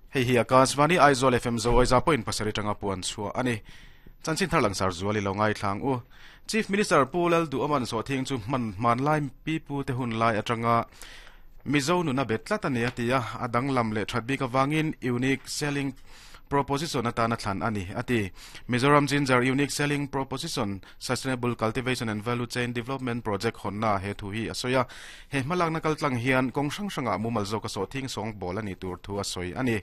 Hei hi Akashvani Aizawl FM Zo Aiza point pasarih atanga puan chhuah a ni. Chanchin thar langsar zual i lo ngaithlang u. Chief Minister Pu Lalduhawman sawhthing chu hman hmanlai pipu te hun lai atanga Mizo nuna bet tlat a ni a ti a, a danglam leh that bik avangin unique selling proposition atana thlan a ni a ti. Mizoram Ginger Unique Selling Proposition Sustainable Cultivation and Value Chain Development Project hawnna he thu hi a sawi a. He hmalakna kaltlang hian kawng hrang hrangah mumal zawka sawhthing sawngbawl a ni tur thu a sawi a ni.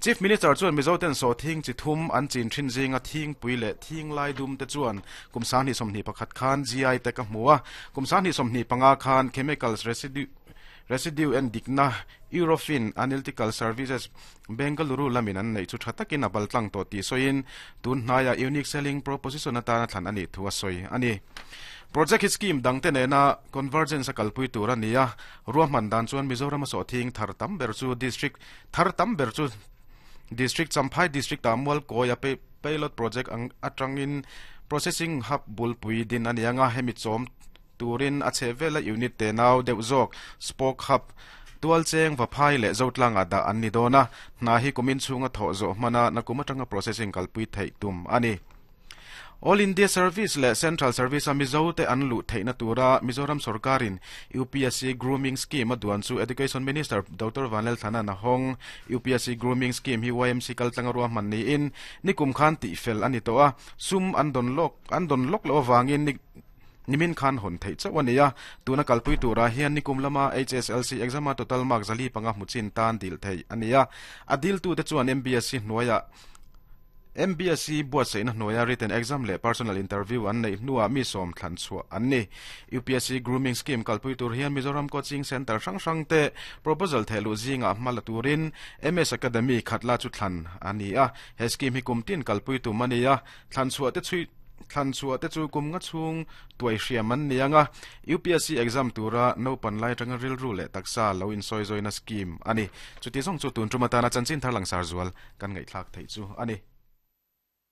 Chief Minister chuan Mizoten sawhthing chi thum an chin thin zinga thingpui leh thinglai dum te chuan kum 2021 khan GI tag a hmu a, kum 2025 khan Chemicals Residue Residue en dikna Eurofin Analytical Services Bengaluru lamin an neih chu tha takin a baltlang tawh tih sawiin tun hnaiah Unique Selling Proposition atana thlan a nih thu a sawi a ni. Project hi scheme dangte nena convergence a kalpui tur a ni a, ruahman dan chuan Mizoram a sawhthing thar tam ber chu district thar tam ber chu District Champhai District ah Mualkawi a pilot project ang atangin processing hub bulpui din a ni anga hemi chawm turin a chheh vela unit te nau deuh zawk spoke hub tualcheng Vaphai leh Zotlangah dah an ni dawn a, hna hi kumin chhunga thawh zawh hmana nakum atanga processing kalpui theih tum a ni. All India Service leh Central Service a Mizo te an luh theihna tura Mizoram sorkarin UPSC Grooming Scheme a duan chu Education Minister Doctor Vanlalthlana'n a hawng. UPSC Grooming Scheme hi YMC kaltlanga ruahman niin nikum khan tihfel a ni tawh a, sum an dawn lawk an dawn lawk loh avangin ni Nimin khan hawn theih chauh a ni a, tuna kalpui turah hian nikum lama HSLC exam-a total mark 405 hmu chin tan dil theih a ni a. A diltute chuan MBSC hnuaiah MBSC buatsaihna hnuaia written exam leh personal interview an neih hnuah mi sawm thlan chhuah an ni. UPSC Grooming Scheme kalpui tur hian Mizoram Coaching Centre hrang hrangte proposal thehluh zingah hma la turin MS Academy khatla chu thlan a ni a. He scheme hi kum tin kalpui tum a ni a, Thlan chhuah te chhui Thlan chhuah te chu kum nga chhung tuai hriam an ni ang a, UPSC exam tura naupan lai atanga rilru leh taksa lo insawi zawina scheme a ni. Chuti zawng chu tun tum atana chanchin thar langsar zual kan ngaihthlak theih chu a ni.